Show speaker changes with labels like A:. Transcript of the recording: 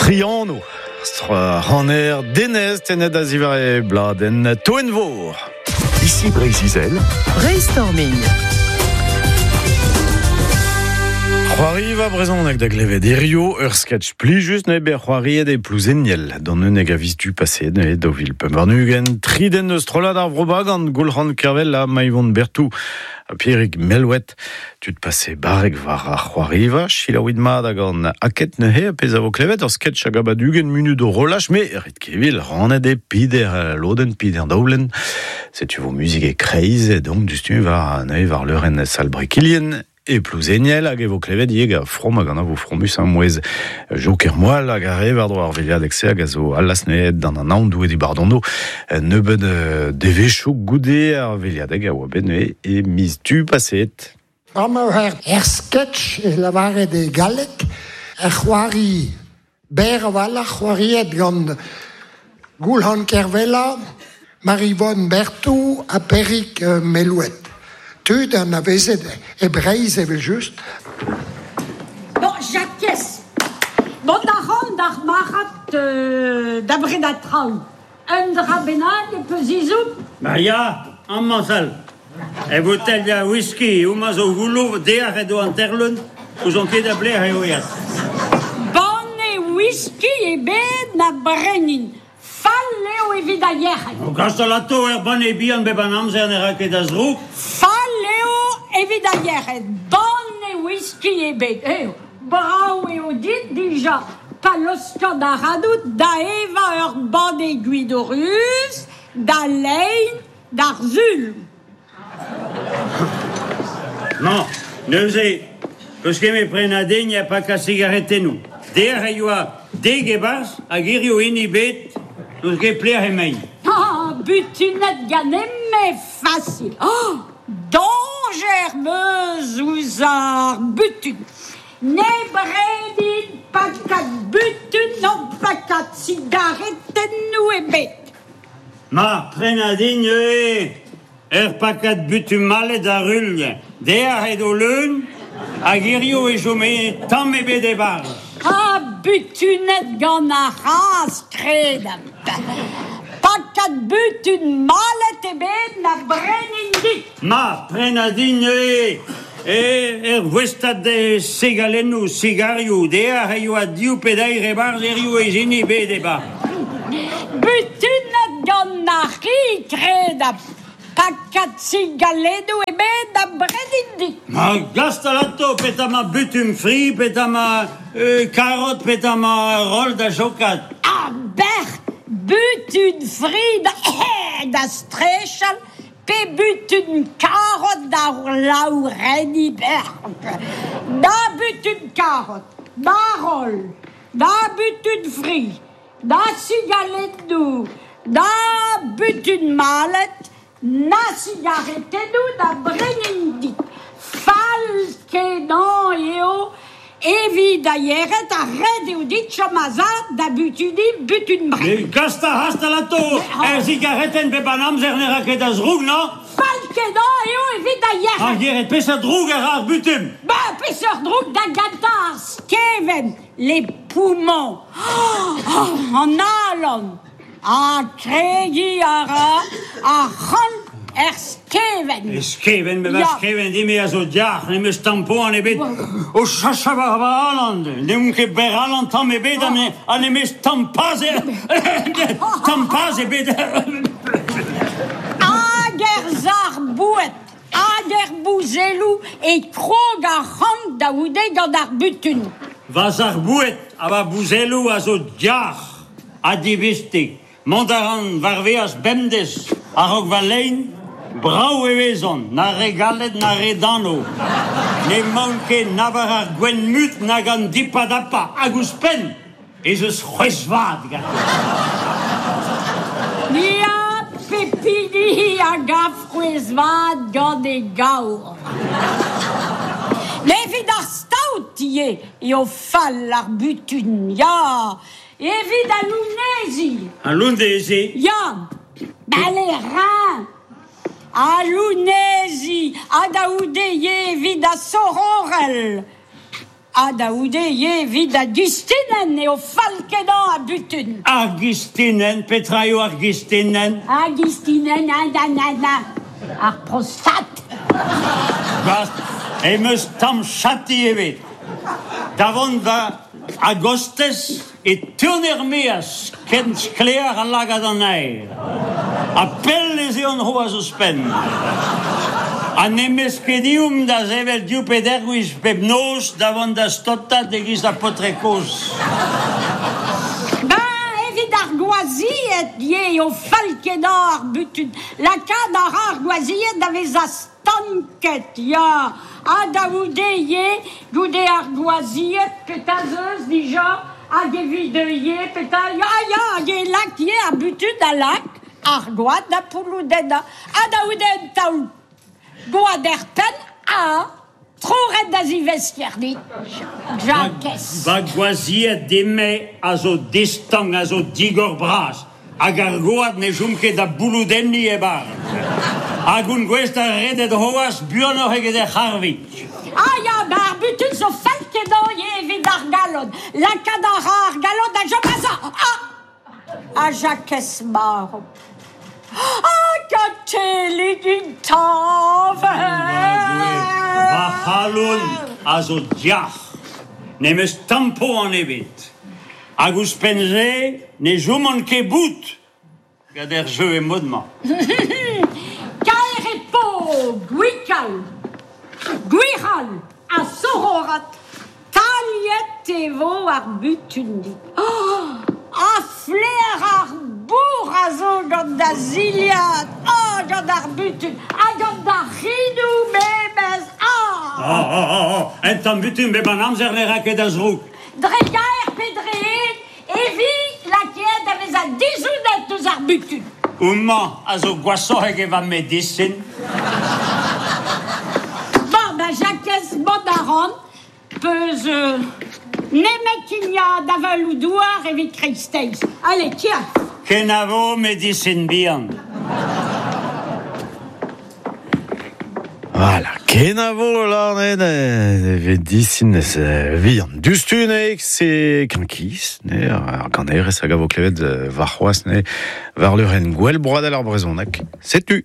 A: Triano, Hanner Denez tennet a zivar e bladenn Toenvor.
B: Ici Breizh-Izel.
C: Brainstorming.
A: C'hoariva brezhoneg da glevet hirio, ur sketch plijus neuze bet c'hoariet e Plouzeniel, d'an 11 a viz du paseet neuze 2025. Tri den eus strollad ar Vro Bagan, Goulc'han Kervel ha Maivon Berthou ha Pierig Mellouet. Tud pase barrek war ar c'hoariva, selaouit mat hag an aked neuze, pezh a vo klevet, ur sketch hag a bad 20 munut o relach, me ret kevil, rannet e pider lodenn, pider daoulenn. Setu vo muzik e kreiz, donc dustu war neuze war leurenn sal Brekilien e Plouzeniel hag e vo klevet ivez gant from hag an avo fromus an mouezh Joker Moal hag ar re war-dro ar veilhadeg-se hag a zo allas neuze d'an anaon Doue dibardono nebeut devezhioù goude ar veilhadeg a oa bet neuze e miz Du paseet.
D: Amañ er sketch e lavaret e galleg, er c'hoari berr a-walc'h c'hoariet gant Goulc'han Kervella, Maryvonne Berthou ha Perig Mellouet. Tud anavezet e Breizh evel-just.
E: Bon, Jakez, mont a ran d'ar marc'had da brenañ traoù. Un dra bennak e peus ezhomm?
F: Ba ya, amañ sell. E bouteilh a whisky, homañ zo goullo, deoc'h edo an terleun, ouzon ket a blec'h eo aet.
E: Banne whisky ebet na brenin. Fall eo evit ar yec'hed.
F: O gas alato er banne bihan bep an amzer ne ra ket a zroug.
E: Fall eo evit ar yec'hed. Banne whisky ebet. Eo, brav eo dit dija. Pa laoskan ac'hanout da evañ ur banne gwin ruz, da lein, d'ar sul.
F: Non, neuze, peus ket me prenañ din ha pakañ sigaretennoù. Dec'h e oa dek e-barzh hag hiziv hini bet, n'eus ket pelec'h emaint.
E: Ah, butunet ganin-me fasil. Oh, dañjer 'm eus ouzh ar butun. Ne brenin pakad butun na pakad sigaretennoù ebet.
F: Ma, prenañ din neuze ur pakad butun malet a ruilh. Dec'h edo leun hag hiziv e chome tamm ebet e-barzh.
E: Ha butunet gant ar c'hazh, kredabl. Pakad butun malet ebet na brenin dit.
F: Ma, prenañ din neuze ur voestad segalennoù, sigarioù. Dec'h e oa div pe deir e-barzh, hiziv ez hini bet e-barzh.
E: Butunet gant ar c'hi, kredabl. Pakad sigalennoù ebet na brenin dit.
F: Ma, gast alato, petra ma butun fri, petra ma karot, petra ma roll da jokat.
E: Ah, bec'h, butun fri da, da strechal, pe butun karot da laourenniñ bec'h. Na butun karot, na roll, na butun fri, na sigalennoù, na butun malet, na sigaretennoù na brenin dit. Fall-kenañ eo evit ar yec'hed ha ret eo dit chom a-sav da butuniñ butun brenn.
F: Gast a alato, ur sigaretenn bep an amzer ne ra ket a zroug, non?
E: Fall-kenañ eo evit ar yec'hed.
F: Ar yec'hed, peseurt droug a ra ar butun?
E: Ba, peseurt droug da gentañ ar skevent, les poumons. Oh, an alan. Ha kregiñ a ra ar c'han er skevent.
F: E skevent, me va skevent din-me a zo diac'h, n'em eus tamm poan ebet. O chachañ war va alan, n'eomp ket berr alan tamm ebet ha n'em eus tamm paz tamm paz ebet.
E: Hag er sac'h-boued, hag er bouzelloù e krog ar c'han da c'houde gant ar butun.
F: Va sac'h-boued ha va bouzelloù a zo diac'h ha divistik. Mont a ran war veaz bemdez a-raok va lein, brav e vezont, na re galet na re dano. N'emaon ket na war ar gwenn-mut nag an dipadapa, hag ouzhpenn ez eus c'hwezh-vat ganto.
E: Ya, pep hini a gav c'hwezh-vat gant e gaour. Evit ar staot ivez eo fall ar butun, ya. Evit al lounezhi.
F: Al lounezhi?
E: Ya, bale rein. Al lounezhi ha da c'houde ivez evit ar sororell. Ha da oude ye evit a gistinen eo falkedañ a butun.
F: Ar gistinen, petra eo ar gistinen?
E: Ar gistinen, na, na, na, na. Ar prostat.
F: Bast, em eus tamm chati ebet. Da vont va a-gostez e teun er-maez ken sklaer a lagad an aer. Ha pell ez eo an c'hoazh ouzhpenn. Ha n'em eus ket ezhomm da sevel div pe deir gwech bep noz da vont da staotat e-giz ar paotr kozh.
E: Ben, evit ar gwazied ivez eo fall-kenañ ar butun. Lakaat a ra ar gwazied da vezañ stanket, ya. Ha da c'houde ivez, goude ar gwazied, petra 'z eus dija? Hag evit ivez, petra? Ya, ya, hag e lak ivez ar butun a lak ar gwad da pouloudennañ. Ha da c'houde un taol gwad er penn, ha troret da zivesker dit, Jakez.
F: Va gwazied din-me a zo distank, a zo digor bras. Hag ar gwad ne chom ket da bouloudenniñ e-barzh. Hag on gouest da redet c'hoazh buanoc'h eget er c'harvig.
E: Ah ya, ba ar butun zo fall-kenañ ivez evit ar galon. Lakaat a ra ar galon da chom a-sav. Ah! Ha Jakez marv. Ah, Katellig intañvez!
F: Va c'halon a zo diac'h. N'em eus tamm poan ebet. Hag ouzhpenn-se ne choman ket bout gant ar jeu e mod-mañ.
E: Kaer e po gwikal, gwic'hal ha sororat. Taliet e vo ar butun dit. Oh, ha flaer ar bourr a zo gant da zilhad, oh, gant ar butun, ha gant da c'hinoù memes, ah!
F: Oh, oh, oh, oh, un tamm butun bep an amzer ne ra ket a zroug.
E: Dre gaer pe dre hed e vi lakaet da vezañ dizounet eus ar butun.
F: Homañ a zo gwashoc'h eget va medisin.
E: Bon, da Jakez, mont a ran, peus nemet kignañ avaloù-douar evit kreisteiz. Allez, tiens.
F: Kenavo, medisin bihan.
A: Voilà, kenavo larnet medisin vihan. Diouzhtu ne se kankis, ne ar ganerez hag a vo klevet warc'hoazh ne war leurenn Gouel Broadel ar Brezhoneg. Setu.